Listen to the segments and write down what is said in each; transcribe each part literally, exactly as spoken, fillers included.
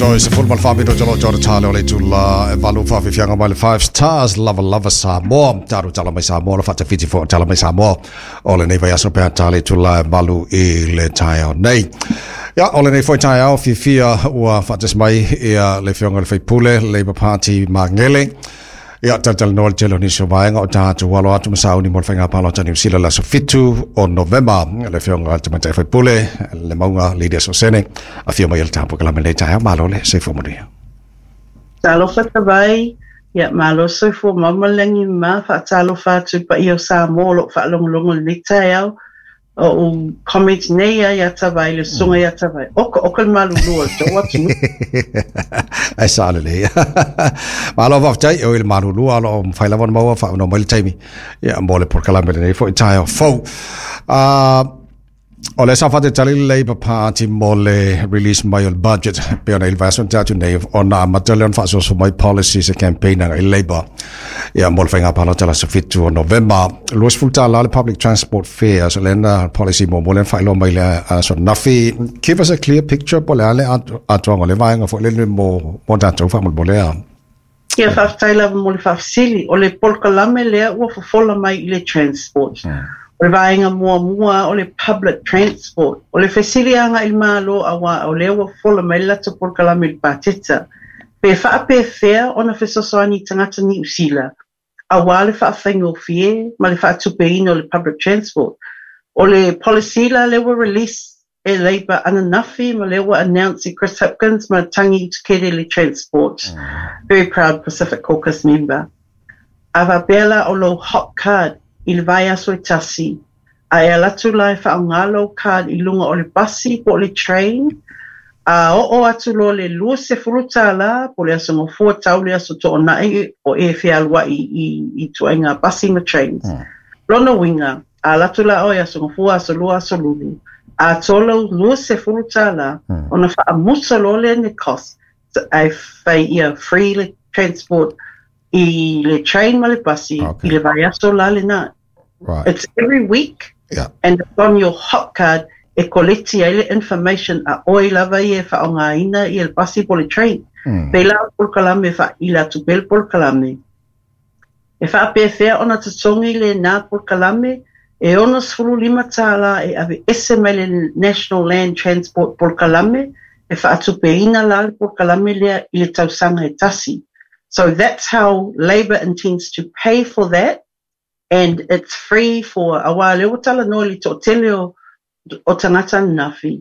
Toe sefulu ma le fa minute o lo tale o le itula e valu faafiafiaga mai le Five Stars lava lava Samoa tatou tala mai Samoa le faatafiti foi tala mai Samoa o lenei vaiaso pe tale itula e valu i le taeao nei. Ia, o lenei foi taeao fiafia ua faatasi mai ia le afioga i le faipule Labour Party Magele. Ia, talatalanoa le tele o nisi o vaega o tatou alo atu ma sauni mo le faiga palota Niu Sila le aso fitu o Novema. Le afioga Tamaitai Faipule le Mauga Lydia Sosene, afio mai i le tapu kalame lenei taeao, malo le soifua manuia. Talofa Tavai, ia malo soifua mamalagi ma faatalofa atu i paia o Samoa o loo faalogologo lenei taeao. O ou comment nei ia ia Tavai, le susuga ia Tavai. Oka oka le malulua o le tou atunuu. Ai sa lelei. Malo faafetai e oi le malulua o loo mafai lava ona maua faaaunoa mai le taimi ia mo le polokalame lenei foi taeao fou. Uh, o le sa faatalitali le Labour Party mo le release mai o le budget pe ona i le vaiaso na tea atu nei ona amata lea ona faasoaso mai policies e campaign agai le Labour ia mo le faiga palota le aso fitu o Novema. Luasefulu tālā le public transport fares, o lea na policy muamua lea na faailoa mai le aso ananafi. Give us a clear picture po o le a le atoaga o le vaega foi lele mo mo tatou faamolemole a. Ia, faafetai lava mo le faafesili. O le polokalame lea ua fofola mai i le transport. O le vaega muamua o le public transport. O le fesili agai i le Malo auā o lea ua fofola mai le latou polokalame i le pateta. Pe faapefea ona fesoasoani i tagata Niu Sila auā le faafaigofie ma le faatupeina o le public transport. O le policy la lea ua release e Labour ananafi ma lea ua announce e Chris Hipkins ma Tangi Utikere le transport. Very proud Pacific Caucus member. A faapea la o lou hop card i le vaiaso e tasi, a e alu atu la e faaaoga lou card i luga o le pasi po o le train, a oo atu loa le luasefulu tālā po o le aso Gafua tau le aso Toonai o e fealuai i, i ituaiga pasi ma trains. Lona uiga, a alu atu la oe aso Gafua, aso Lua, aso Lulu, atoa lou luasefulu tālā, ona faamuta loa lea ni cost, ae fai ia free le transport i le train ma le pasi Okay. i le vaiaso la lena. Right. It's every week Yeah. and it's on your hop card e koleti ai le information a oe lava ia e faaaogaina ia le pasi po o le train. Mm. Pei la o le polokalame faaila atu pea le polokalame. E faapefea ona totogi lenā polokalame e ono sefulu lima tālā e aveese mai le National Land Transport polokalame e faatupeina la le polokalame lea i le tausaga e tasi. So that's how Labour intends to pay for that and it's free for auā lea ua talanoa i le toatele o, o tagata ananafi.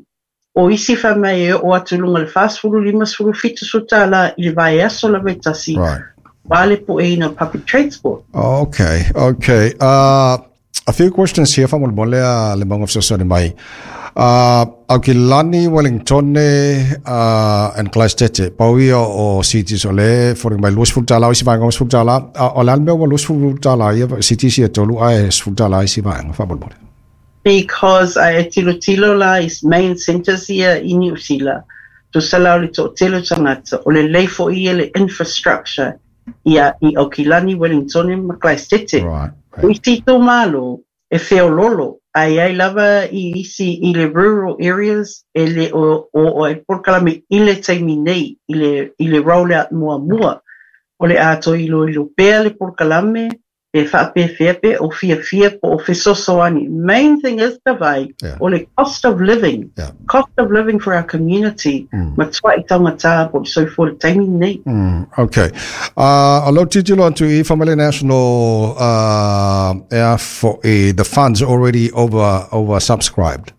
O isi fai mai e oo atu i luga o le fasefulu lima sefulu fitu sefulu tālā i le vaiaso lava e tasi Right. auā le pueina o public transport. Okay, okay. Uh, a few questions here faamolemole a le Mauga fesoasoani mai. Uh, Aukilani, Wellington uh, and Clistete, pau ia o cities o le foliga mai luasefulu tālā o isi vaega sefulu tālā. Uh, o le a le mea ua luasefulu tālā ia cities ia e tolu ae sefulu tālā isi vaega faamolemole. Because a e tilotilo la i main centres ia i Niu Sila, tusa la o le toatele o tagata, o lelei foi ia le infrastructure ia i Aukilani, Wellington ma Clistete. Right, O right. isi itumalo e feololo, ae ai lava i isi i le rural areas e le o, o, o e polokalame i le taimi nei, i le, i le rollout muamua. O le a toe iloilo pea le polokalame e faapefea pe o fiafia po o fesoasoani. Main thing is Tavai, Yeah. o le cost of living. Yeah. Cost of living for our community. Mm. Matuai taugata po o le soifua i le taimi nei. Mm, okay. Uh, o lou tilotilo atu i Family National uh, ea foi the funds already over over subscribed.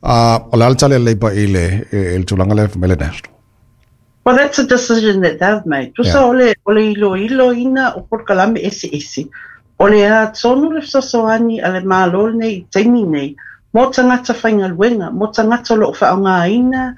Uh, o le a le tali a le Labour i le, i le tulaga lea Family National. Well, that's a decision that they've made. Tusa Yeah. o le, o le iloiloina o polokalame eseese. O le a tonu le fesoasoani a le Malo lenei i taimi nei, mo tagata faigaluega, mo tagata o loo faaaogaina,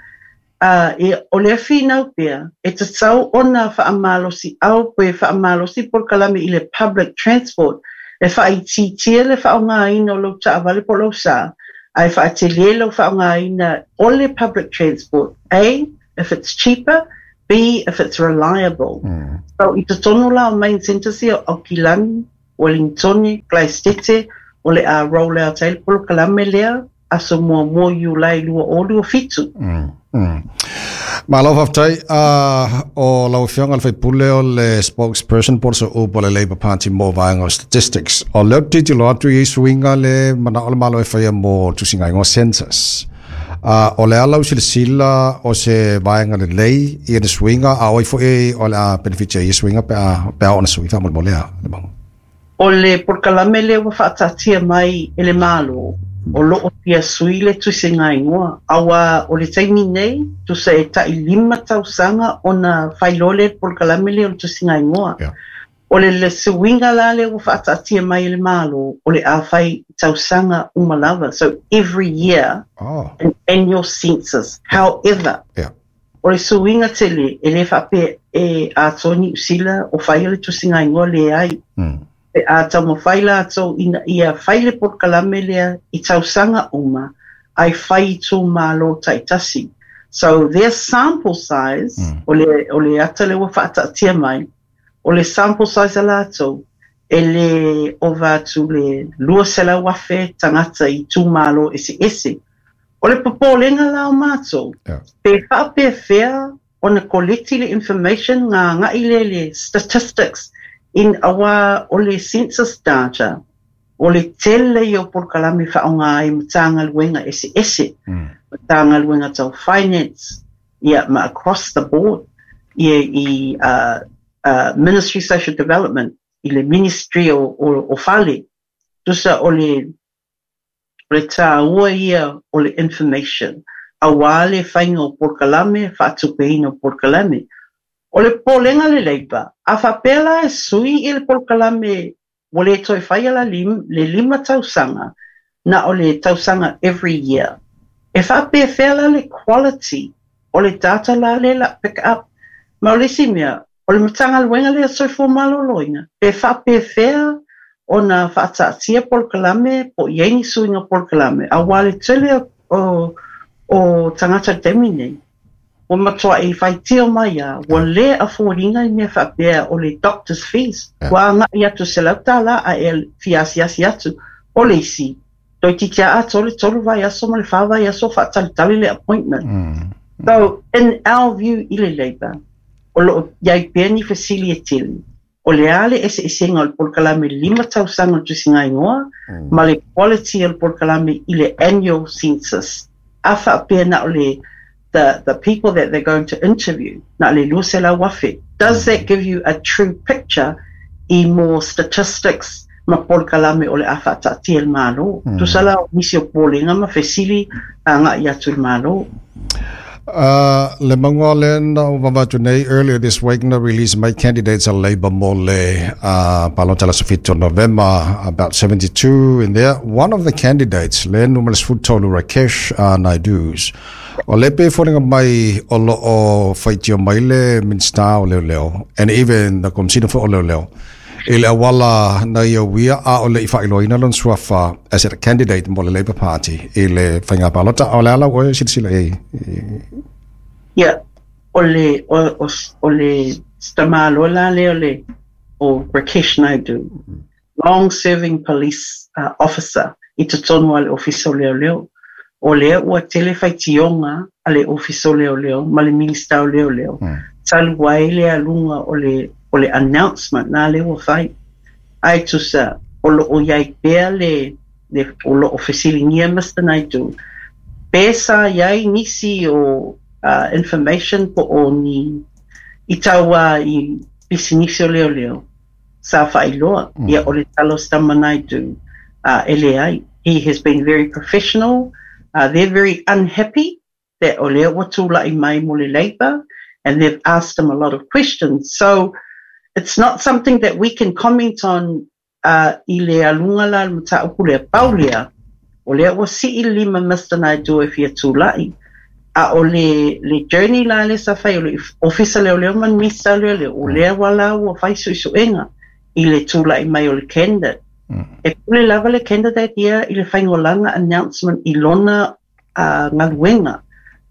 uh, e, o le finau pea, e tatau ona faamalosiau pe faamalosi polokalame i le public transport, e faaitiitia le faaaogaina o lou taavale po o lou sa, ae faatelē lou faaaogaina o le public transport. A, if it's cheaper, B, if it's reliable. Mm. So i totonu la o main centres ia o Aukilani, Wellington, Clistete, o le a roll out ai le polokalame lea, aso muamua Iulai lua o lua fitu. Mm. Mm. Malo faafetai uh, o lau afioga le faipule o le spokesperson po o upu a le Labour Party mo vaega o statistics. O lea ou te tilotilo atu i suiga le manao le Malo e faia mo tusiga igoa census. Uh, o le a lau silasila o se vaega lelei ia le suiga a oi foi o le a benefitia i suiga pe a pe a ona sui faamolemole a le mau. O le polokalame lea ua faataatia mai e le Malo, o loo fia sui le tusiga igoa, auā o le taimi nei, tusa e tai lima tausaga ona failoa lea le polokalame lea o le tusiga igoa. Yeah. O le le suiga la lea ua faataatia mai e le Malo, o le a fai tausaga uma lava. So every year, Oh, an annual census. However, yeah. o le suiga tele, e lē faapea e atoa Niu Sila o faia le tusiga igoa leai. Mm. Pe a taumafai latou ina ia fai le polokalame lea i tausaga uma, ai fai i itumālō taitasi. So their sample size, Mm. o le, o le ata lea ua faataatia mai, o le sample size a latou, e lē ova atu le lua selau afe tagata i itumālō eseese. O le popolega la o matou, Yeah. pe faapefea ona collect le information nga agai le le statistics in auā o le census data, o le tele ia o polokalame faaaogā ai Matagaluega eseese, Mm. Matagaluega tau finance, ia ma across the board, ia i uh, uh, Ministry of Social Development, i le Ministry o, o, o Fale, tusa o le o le tāua ia o le information, auā le faiga o polokalame, faatupeina o polokalame. O le popolega le Labour, a faapea la e sui i le polokalame ua lē toe faia la lim, le lima tausaga, na o le tausaga every year. E faapefea la le quality o le data la le la pick up. Ma o le isi mea, o le Matagaluega lea Soifua Maloloina, pe faapefea ona faataatia polokalame po i ai ni suiga polokalame, auā le tele o, o, o tagata taimi nei. Ua matuai faitio mai a, ua lē afford-ina i mea faapea o le doctor's fees. Yeah. Ua agai atu selau tālā a e fiasiasi atu. O le isi, toeitiiti a atoa le tolu vaiaso ma le whā vaiaso faatalitali le appointment. Mm. So, in our view i le Labour, o loo iai pea ni fesili e tele. O le a le eseesega o le polokalame lima tausaga o le tusiga igoa, Mm. ma le quality o le polokalame i le annual census. A faapea na o le the, the people that they're going to interview, na le lua selau afe. Does that give you a true picture i more statistics ma polokalame o le a faataatia le Malo? Mm. Tusa la o nisi o popolega ma fesili agaʻi atu i le Malo. Uh, le mauga le na o vavatu nei earlier this week na release mai candidates a Labour mo le uh, palota le aso fitu November, about seventy-two in there. One of the candidates, le numera sefulutolu Rakesh uh, Naidu's, o le pe foliga mai o lo o faitio mai le Minista o Leoleo and even the Komisina foi o Leoleo i le auala na ia uia a o le i faailoaina lona suafa as a candidate mo le Labour Party i le faiga palota. O le ala oe silasila i Ia, o le, o, o, o le tamāloa la lea o le, o Rakesh Naidu, long serving police uh, officer i totonu a le Ofisa o Leoleo. O lea ua tele faitioga a le Ofisa o Leoleo ma le Minista o Leoleo. Mm. Talu ai le aluga o le, o le announcement na le ua fai. Ai tusa, o loo iai pea le, le o loo fesiligia Mister Naidu. Pe sa iai nisi o uh, information po o ni i taua i pisinisi o leoleo sa faailoa. Mm. Ia o le tala o si tama Naidu uh, e leai. He has been very professional. Uh, they're very unhappy that o lea ua tulaʻi mai mo le Labour, and they've asked him a lot of questions. So it's not something that we can comment on uh, i le aluga la le mataupu lea pau lea. O lea ua sii lima Mister Naidu e fia tulaʻi. A o le, le journey la le sa fai o le Ofisa Leoleo ma le Minista o Leoleo, o lea ua la ua fai suesuega i le tulaʻi mai o le candidate. Mm. E pule lava le candidate ia i le faigolaga announcement i lona uh, galuega.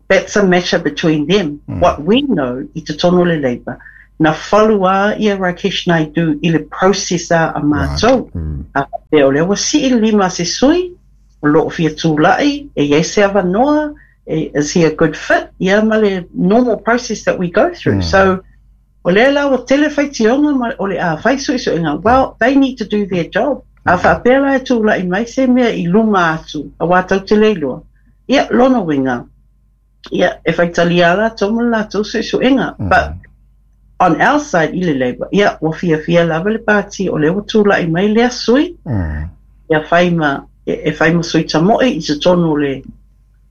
That's a matter between them. Mm. What we know i totonu o le Labour, na follow a ia Rakesh Naidu i le process a a matou. Mm. A faapea o lea ua sii lima se sui, o loo fia tulaʻi, e iai se avanoa, Is he a good fit? Ia ma le normal process that we go through. Mm. So, o lea la o tele faitioga ma o le a fai suesuega. Well, they need to do their job. A faapea la e tula'i mai se mea i luma atu, auā tatou te le iloa. Ia, lona uiga, ia, e faitalia latou ma le latou suesuega. Mm. But on our side i le Labour, ia, ua fiafia lava le pati o lea ua tula'i mai lea sui, mm. ia fai ma, e, e fai ma sui tamo'i i totonu o le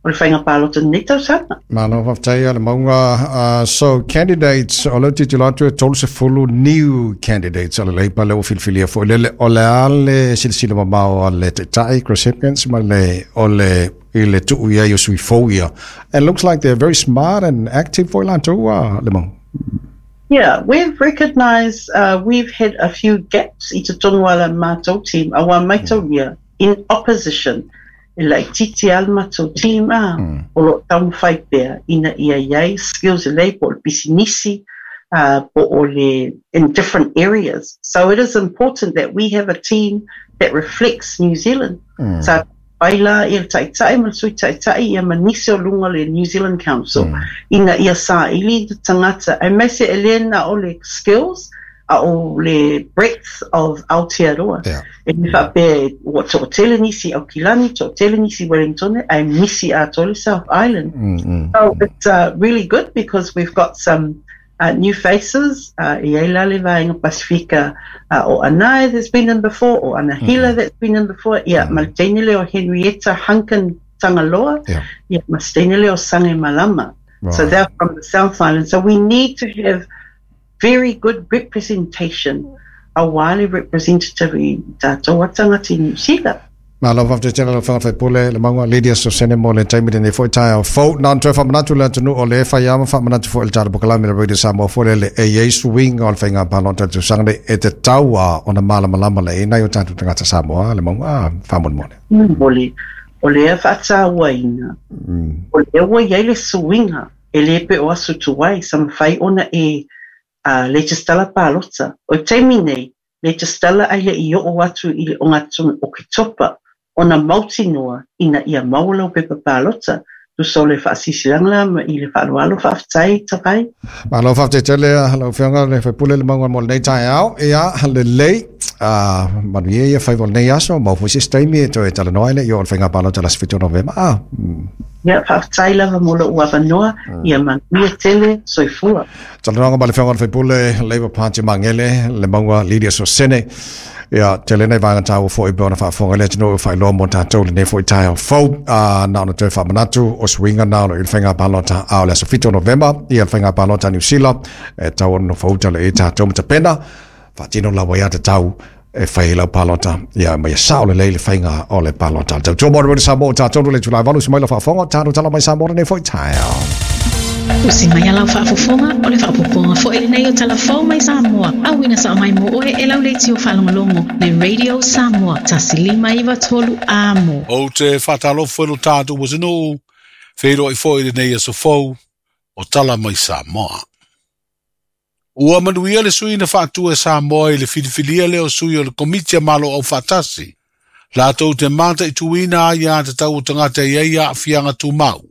o le faiga palota lenei tausaga. Malo faafetai le Mauga. Uh, so candidates, o le tilotilo atu e tolu sefulu new candidates o le Labour le ua filifilia foi lele o le a le silasila mamao a le Taitai Chris Hipkins ma le o le i le tuu ia i o sui fou ia. And looks like they're very smart and active foi latou uh, le Mauga. Yeah, we've recognised uh, we've had a few gaps i totonu o le matou team, auā maitaulia in opposition. E laitiiti lava le matou team a, mm. o lo o taumafai pea ina ia i ai skills lelei po o le pisinisi, uh, po o le in different areas. So it is important that we have a team that reflects New Zealand. Mm. Sa pai la ia le Taitai ma le Sui Taitai ia ma nisi o luga o le New Zealand Council mm. ina ia saili le tagata aemaise e le na o le skills a o le breadth of Aotearoa. Yeah. E le faapea ua toatele nisi Aukilani, toatele nisi Wellington, ae misi atoa le South Island. Mm, mm, So it's uh, really good because we've got some uh, new faces. Uh, e ai la le vaega Pasifika uh, o Anai that's been in before, o Anahila mm. that's been in before. Ia, mm. ma le teine lea o Henrietta Hunkin Tangaloa. Yeah. Ia, ma se teine lea o Sange Malama. Right. So they're from the South Island. So we need to have very good representation, auā le representative i tatou tagata i Niu Sila. Malo faafetai tele lau Afioga faipule le Mauga Lydia Sosene mo le taimi lenei foi taeao fou. Na ona toe faamanatu le atunuu o le fai ama faamanatu foi le tatou polokalame le Radio Samoa foi lele e i ai suiga o le faiga palota i le tausaga nei e tatau a ona malamalama lelei nai o tatou tagata Samoa le Mauga faamolemole. Moli, o lea faatauaina, Mm. o lea ua i ai le suiga, e le pe o aso tuai, sa mafai ona e uh, resitala palota. O le taimi nei, resitala ai le i oo atu i le ogatotonu o Oketopa, ona mautinoa ina ia maua lau pepa palota, tusa o le faasilasilaga la ma i le faaaloalo faafetai Tavai. Malo faafetai tele lau Afioga le faipule le Mauga mo lenei taeao. Ia lelei uh, manuia ia faiva o lenei aso maua foi se isi taimi e toe talanoa ai le i oo o le faiga palota le aso fitu o Novema. Ah, mm. Ia, faafetai lava mo lou avanoa, ia manuia tele, soifua. Talanoaga ma le Afioga le faipule Labour Party Magele le Mauga Lydia Sosene. Ia tele nei vaega taua foi pe ona faafofoga le atunuu faailoa mo tatou lenei foi taeao fou. Uh, na ona toe faamanatu o suiga na o le faiga palota a o le aso fitu o Novema ia le faiga palota Niu Sila e tatau ona nofouta lelei tatou ma tapena faatino lava ia tatau e fai lau palota ia ma ia sao lelei le faiga o le palota. Le tautua mo le Radio Samoa tatou le itula e valu usi mai lau faafofoga tatou tala mai Samoa lenei foi taeao. Usi mai a lau faafofoga o le faaopoopoga foi lenei o Tala Fou mai Samoa, auina sao mai mo oe e lau leitio faalogologo le Radio Samoa tasi lima iva tolu amo. Ou te faatalofa i lo tatou atunuu, feiloai foi i lenei aso fou o Tala mai Samoa. Ua manuia le sui na faatua e Samoa i le filifilia lea o sui o le Komiti a Malo Aufaatasi, latou te mataituina aiatatau o tagata e i ai aafiaga tumau,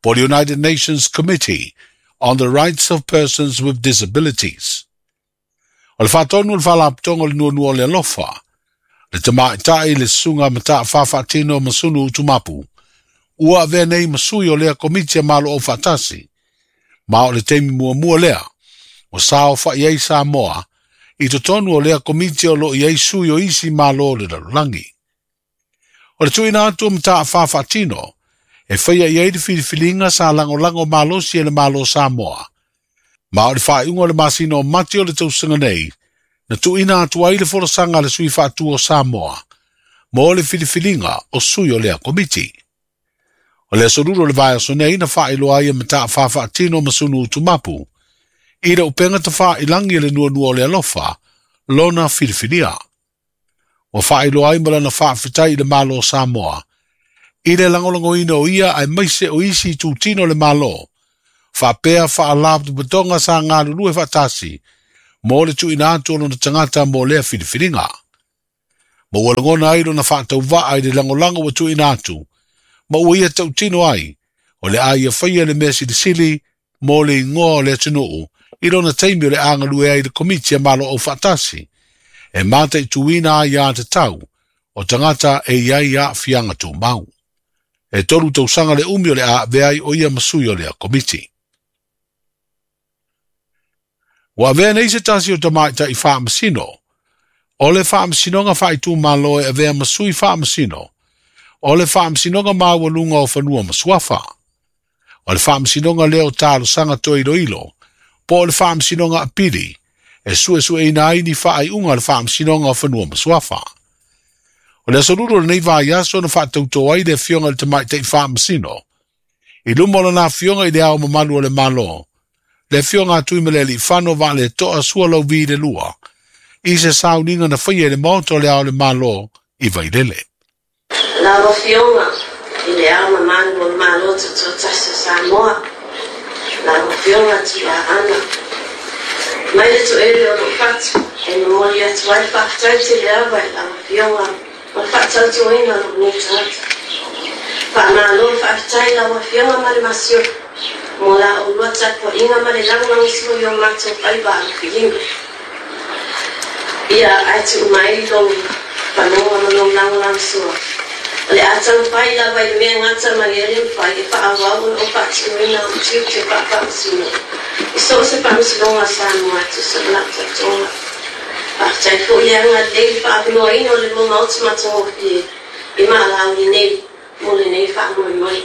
po o le United Nations Committee on the Rights of Persons with Disabilities. O le faatonu o le Faalapotopotoga o le Nuanua o le Alofa, le tamaitai le susuga Mataafa Faatino Masunu Utumapu, ua avea nei ma sui o lea Komiti a Malo Aufaatasi, ma o le taimi muamua lea, ua saofa'i ai Samoa i totonu o lea Komiti o loo i ai sui o isi Malo o le lalolagi. O le tuuina atu o Mataafa Faatino, e faia i ai le filifiliga sa lagolago malosi e le Malo Samoa. Ma o le faaiuga o le masina o Mati o le tausaga nei, na tuuina atu ai le folasaga a le sui faatua o Samoa, mo le filifiliga o sui o lea Komiti. O le aso lua o le vaiaso nei na faailoa ai e Mataafa Faatino Masunu Utumapu, i le upega tafailagi e le Nuanua o le Alofa, lona filifilia. Ua faailoa ai ma lana faafetai i le Malo o Samoa, i le lagolagoina o ia aemaise o isi itutino o le Malo, faapea faalapotopotoga sa galulue faatasi, mo le tuuina atu o lona tagata mo lea filifiliga. Ma ua lagona ai lona faatauvaa i le lagolago ua tuuina atu, ma ua ia tautino ai, O le a ia whaia le mea silisili mo le ingoa o le atunuu i lona taimi o le a galue ai le komiti a malo o whaatasi. E mata i tuina ai a te tau o tangata e iai a fianga tō mau. E tolu tausanga le umi o le a veai o ia masui o lea komiti. Ua avea nei se tasi o tamaita i whaamasino. O le whaamasinoga whaitū malo e avea masui whaamasino. O le whaamasinoga maualuga o fanua masuafa. O le whaamasinoga leo talosanga toiloilo. Po o le whaamasinoga apili. E sue sue ina ai ni whaaiunga le whaamasinoga o fanua masuafa. O le asolulu o lenei vaiaso na whaatauto ai le afioga i le tamaita i whaamasino. I luma o lana afioga i le ao mamalu o le malo. Le afioga a Tuimalealiifano Vaaletoa Sualauvi le lua. I se sauniga na whaia le maoto le ao le malo i Vailele. Lau afioga i le ao mamalu o le malo tutoatasi o Samoa. Lau afioga Tuiaana. Mai le toele o lou fatu e momoli atu ai faafetai tele ava i lau afioga ma le faatautoina o lou nei tagata. Faamalo faafetai lau afioga ma le masiofo mo la oulua tapuaʻiga ma le lagolagosua i o matou faiva alofilima. Ia ae tuu mai lou panoga ma lou lagolagosua. O le a taumafai lava i le mea gata ma le ale mafai e faaauau ona o faatinoina o tiute faafaamasino. I so o se faamasinoga a Samoa e tusa ma lau tautoga. Faafetai foi le agalelei le faavanoaina o le lua maota matagofie i maalauli nei mo lenei faamoemoe.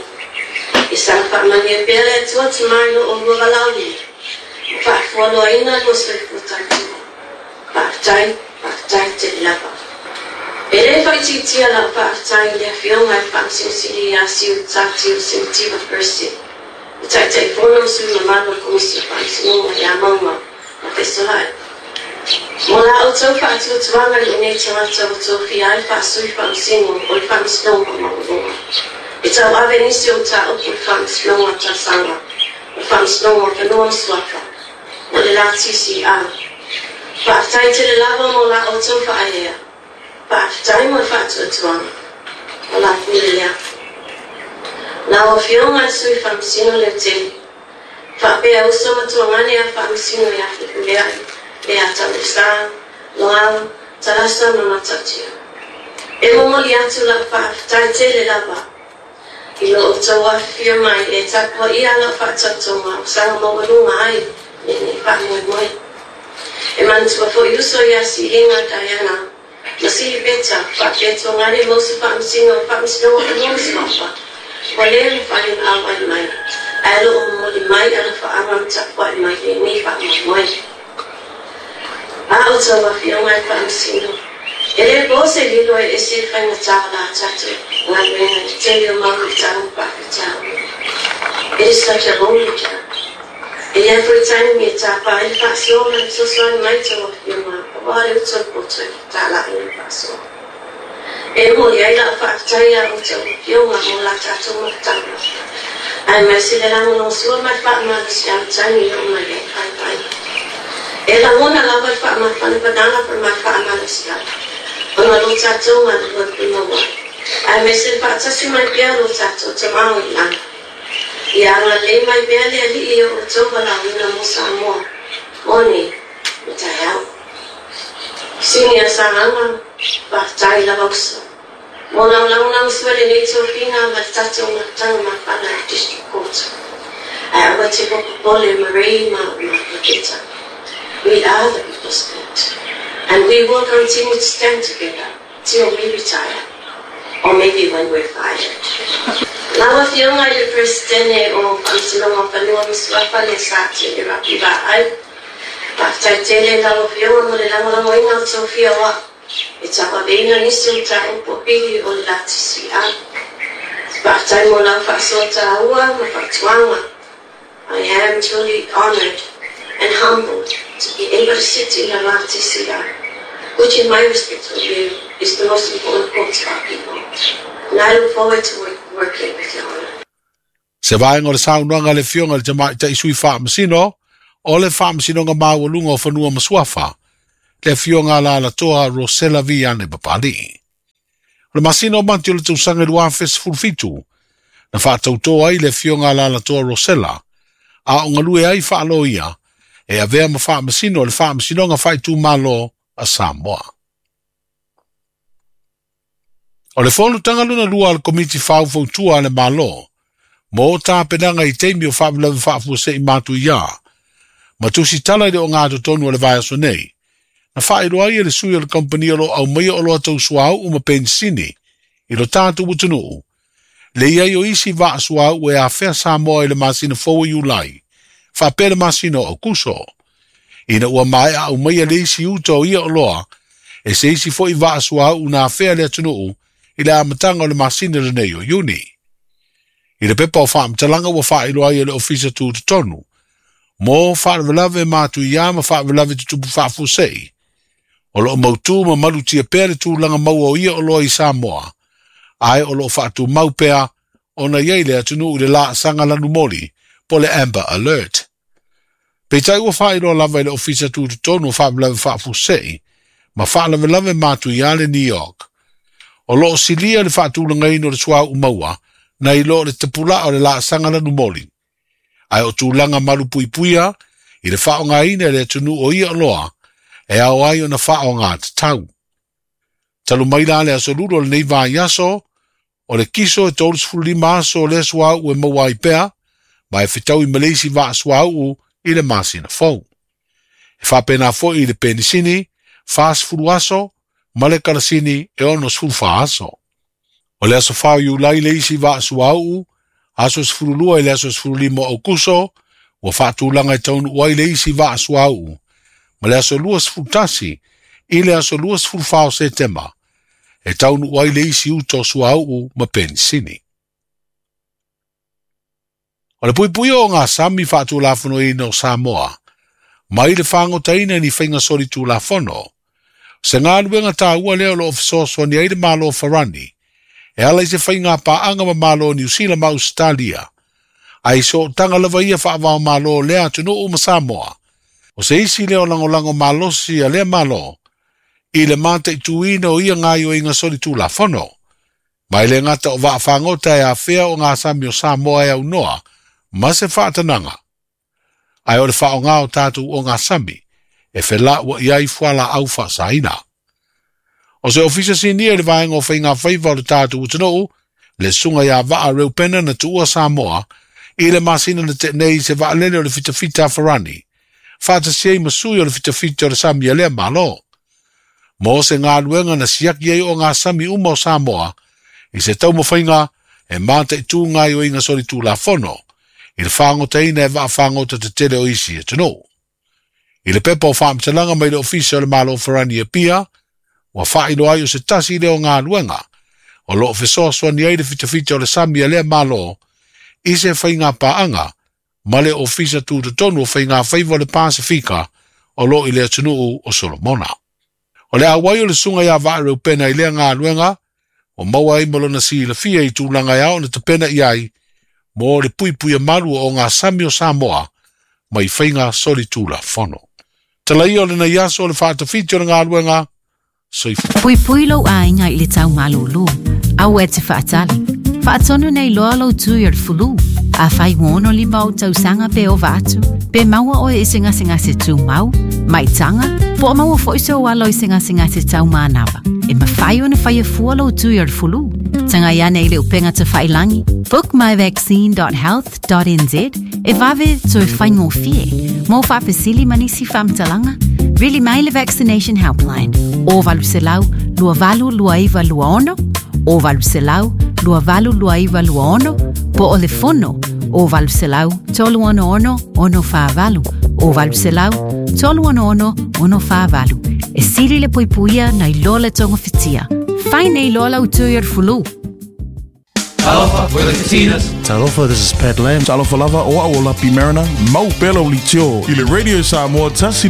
I saga faamanuia pea le Atua tamā i lo oulua valaauina ma faafualoaina lua soifua tautua. Faafetai, faafetai tele lava. E le faaitiitia lau faafetai i le afioga i le Faamasino ia Siu Tati o Semitiva Percy, le Taitaifono ma sui mamalu o le Komisi o Faamasinoga ia Mauga ma Fesolai. Mo la outou faatuatuaga i lou nei tagata ua tofia ai le faasui faamasino o le Faamasinoga Maualuga. E tauave nisi o mataupu i le Faamasinoga Talosaga o le Faamasinoga o Fanua ma Suafa mo le la T C R. Faafetai tele lava mo la outou faaea. Faafetai mo le faatuatuaga. O la pule lea. Lau afioga i le sui faamasino leutele. Faapea uso matuagane a faamasino ia Fepuleai, le a Taulesa, Loau, Talasa ma Matautia. E momoli atu lau faafetai tele lava. I lo outou afifio mai e tapuaʻia lau faatautoga o saga maualuga ai lenei faamoemoe. E manatua foi uso ia Siliga Diana ma Silipeta faapea tuagane ma uso faamasino o faamasinoga fanua ma suafa. Ua le mafai ona auai mai ae loo momoli mai alofaaga ma tapuaʻi mai lenei faamoemoe. A outou afioga i faamasino. E le po se lilo e ese le faigatā o la tatou galuega i le tele o mau luitau ma faafitauli. It is such a holy job. E iai foi taimi e tāpā ai le faasoa ma le fesoasoani mai tou afioga auā le utu o le poto e fetālaʻi le faasoa. E momoli ai lau faafetai iā outou afioga mo la tatou mafutaga. Ae mai se le lagolagosua ma le faamalosiau taimi i oo mai ai faivai. E lagona lava le faamafanafanaga pa ma le faamalosiau. Ona lo tatou galue pulauai. Ae mai se le faatasi mai pea lo tatou tamao i lagi. Ia agalelei mai pea le Alii o outou valaauina mo Samoa, mo nei, ma taeao. Sini a Sagaga, faafetai lava uso. Mo lau lagolagosua lenei tofiga ma le tatou mafutaga mafana i District Court. Ae aua te popopole Marie ma ma Maketa. We are the People's Court. And we will continue to stand together till we retire, or maybe when we're fired. Lau afioga i le Peresetene o Faamasinoga o Fanua ma Suafa le Sa Tele Rapi Vaai. Faafetai tele lau afioga mo le lagolagoina o tofia o au. E tauaveina nisi o mataupu o pili o le la T C R. Faafetai mo lau faasoa tāua ma faatuaga. I am truly honoured and humbled to be able to sit in the La T C R, which in my respectful view is the most important court to our people. And I look forward to work, working with Your Honour. Se vaega o le saunoaga a le afioga i le tamaitai sui faamasino o le Faamasinoga Maualuga o Fanua ma Suafa, le afioga a Alalatoa Rosella Viane Papali'i. O le masina o Mati o le tausaga i lua afe sefulu fitu, Na whaatautoa ai le fionga Alaalatoa Rosella, a o ngalue ai whaaloia, e avea ma whaamasino le whaamasinoga whaitumalo a Samoa. O le fonotanga lona lua a le komiti faufautua a le Malo, mo tapenaga i taimi o faalavelave faafuasei matuiā, ma tusitala i le ogatotonu o le vaiaso nei, na faailoa ai e le sui o le kampani o loo aumaia oloa tau suauu ma penisini i lo tatou atunuu, le iai o isi vaa suauu e afea Samoa i le masina fou o Iulai, faapea le masina o Aukuso. Ina ua maea aumaia le isi uta o ia oloa, e se isi fo'i vaa suauu na afea le atunuu i le amataga o le masina lenei o Iuni. I le pepa o faamatalaga ua faailoa ai e le ofisa tutotonu, mo faalavelave matuiā ma faalavelave tutupu faafuasei, o loo mautū ma malutia pea le tulaga maua o ia oloa i Samoa, ae o loo faatumau pea ona iai le atunuu i le laasaga lanumoli po le Amber Alert. Peitai ua faailoa lava i le ofisa tutotonu o faalavelave faafuasei ma faalavelave matuiā le New York. O loo silia le faatulagaina o le suauu maua nai lo le tapulaa o le laasaga lanumoli, ae o tulaga malupuipuia i le faaaogaina e le atunuu o ia oloa e ao ai ona faaaoga tatau. Talu mai la le aso lulu o lenei vaiaso, o le kiso e tolu lima aso o lea suauu e maua ai pea, ma e fetaui ma le isi vaa suauu i le masina fou. E faapena fo'i i le penisini, fasefulu aso, ma le kalasini e onosefulu fa aso. O le aso fa o Iulai le isi vaa suauu, aso sefulu lua i le aso sefulu lima o Aukuso, ua faatulaga e taunuu ai le isi vaa suauu, ma le aso luasefulu tasi i le aso luasefulu fa o Setema, e taunuu ai le isi uta o suauu ma penisini. O le puipuia o ngā sami faatulafonoina o Samoa, mai le fagotaina ni faiga solitulafono, se galuega taua lea o loo fesoasoani ai le Malo o Farani, e ala i se faiga paaga ma Malo o Niusila ma Ausetalia, ae i sootaga lava ia faavao malo o lea atunuu ma Samoa. O se isi lea o lagolago malosi a lea Malo, i le mataituina o ia gaioiga solitulafono. Ma e le gata o vaafagota e afea o ngā sami o Samoa e aunoa, ma se faatanaga. Ae o le faaaoga o tatou o ngā sami, e felaua i ai fualaau faasaina. O se ofisa sinia i le vaega o faiga faiva o le tatou atunuu, le susuga ia Vaa Reupena na tuua Samoa, i le masina na tenei i se vaalele o le fitafita a Farani, faatasi ai ma sui o le fitafita o le sami a lea Malo. Mo se galuega na siaki ai o ngā sami uma o Samoa, i se taumafaiga e mataitū gaioiga solitulafono, i le fagotaina e vaafagota tetele o isi atunuu. I le pepa o faamatalaga mai le ofisa o le Malo o Farani e Pia, ua faailoa ai o se tasi lea o galuega, o loo fesoasoani ai le fitafita o le sami a lea Malo, i se faiga paaga ma le ofisa tutotonu o faiga faiva o le Pasifika o loo i le atunuu o Solomona. O le auai o le susuga ia Vaa Reupena i lea galuega, o maua ai ma lona silafia i tulaga e ao na tapena i ai, mo le puipuia malu o ngā sami o Samoa, mai faiga solitulafono. Talaia o lenei aso o le faatafiti o le galuega, soifua. Puipui lou aiga i le tau malūlū, aua e te faatali. Faatonu nei loa lou tui o le fulu. Afai ua ono lima ou tausaga pe ova atu, pe maua oe i se gasegase tumau, maitaga, po o maua fo'i sou alo i se gasegase taumanava. E mafai ona faia fua lou tui o le fulu. Tagai ane i le upega tafailagi, book my vaccine dot health dot n z e vave toe faigofie. Mo faafesili ma nisi faamatalaga, vili mai le Vaccination Helpline o valu selau lua valu lua iva lua ono, o valu selau lua valu lua iva lua ono, po o le fono o valu selau tolu ono ono ono fa valu, o valu selau tolu ono ono ono fa valu. E sili le puipuia nai loa le togofitia. Fai nei loa lau tui o le fulu. Talofa, we're the Katinas. Talofa, this is Pat Lam. Talofa lava, o au o Lapi Mariner. Mau pela o litio. I le Radio Samoa, tasi